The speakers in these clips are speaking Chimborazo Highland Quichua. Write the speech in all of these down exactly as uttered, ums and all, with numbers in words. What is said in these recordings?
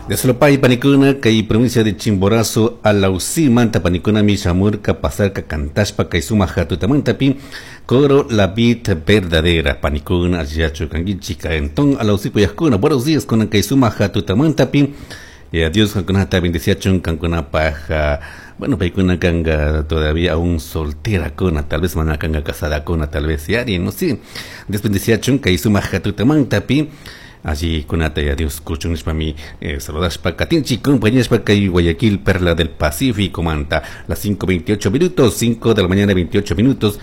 Dios panikuna kay provincia de Chimborazo Alausí manta panikuna mi shamurka pasarka cantashpa kay sumak tutamantapi coro La Vid Verdadera panikuna allillachu kankichik enton Alausí kuyajkuna. Buenos días kuna kay sumak tutamantapi. Y a Dios kankunata bendiciachun kankunapaj. Bueno, paykuna kanga todavía aún soltera kuna, tal vez mana kanga casada kuna, tal vez yari, no sé. Dios bendiciachun kay sumak tutamantapi. Allí kunata ya Dios kuchun nishpami eh, saludashpa katinchi compañías kay Guayaquil, Perla del Pacífico manta, las cinco veintiocho minutos, cinco de la mañana veintiocho minutos.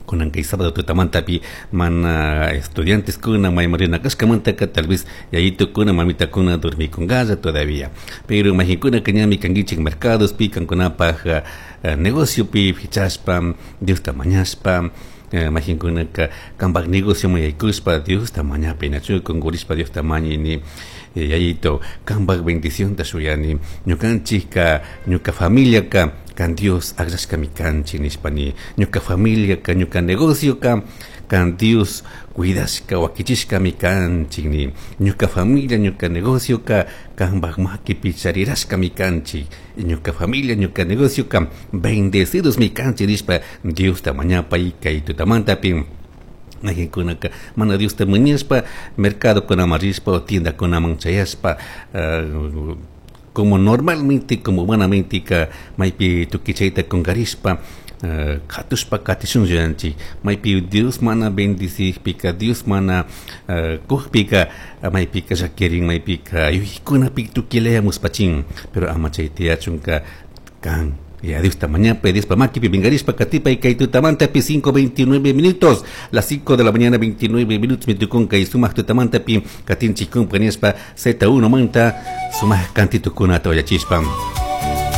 Kunan kay sábado tutamantapi mana estudiantes kuna maymarina kashkamantaka tal vez yayito kuna mamita kuna dormikungalla todavía, pero majinkuna que ñami kankichik mercados pi, kankunapaj uh, negocio pi fichashpa Diosta mañashpa, eh, majinkuna kanpak negocio yaykushpa Diosta mañapi nachu kungurishpa Diosta mañini, eh, yayito, kanpak bendición ta shuyani, ñukanchikka, ñuka familia ka kan Dios akllashkami kanchik nishpani, ñuka familia ka, ñuka negocio ka kan Dios cuidashka wakichishkami kanchik ni, ñuka familia, ñuka negocio ka kanpak makipi charirashkami kanchik, ñuka familia, ñuka negocio ka bendecidos mi kanchik nishpa Diosta mañapay kay tutamantapi. Kunaka mana Diosta mañashpa mercado kunaman rishpa o tienda kunaman chayashpa, uh, como normalmente, como humanamente ka maypi tukuy chayta kunkarishpa uh, katushpa katishun yuyanchik. Maypi Dios mana bendicikpika, Dios mana uh, kukpika, maypika llakirin, maypika yuyaykunapi tukuylaya muspachin, pero ama chay tiyachunka kan ya Dios mañana Dios makipi pinkarishpa katipay kay tutamantapi. cinco veintinueve minutos, las cinco de la mañana veintinueve minutos mi tukun kay sumak tutamantapi katinchik compañíaspa Z uno manta sumak kantitukunata uyachishpa.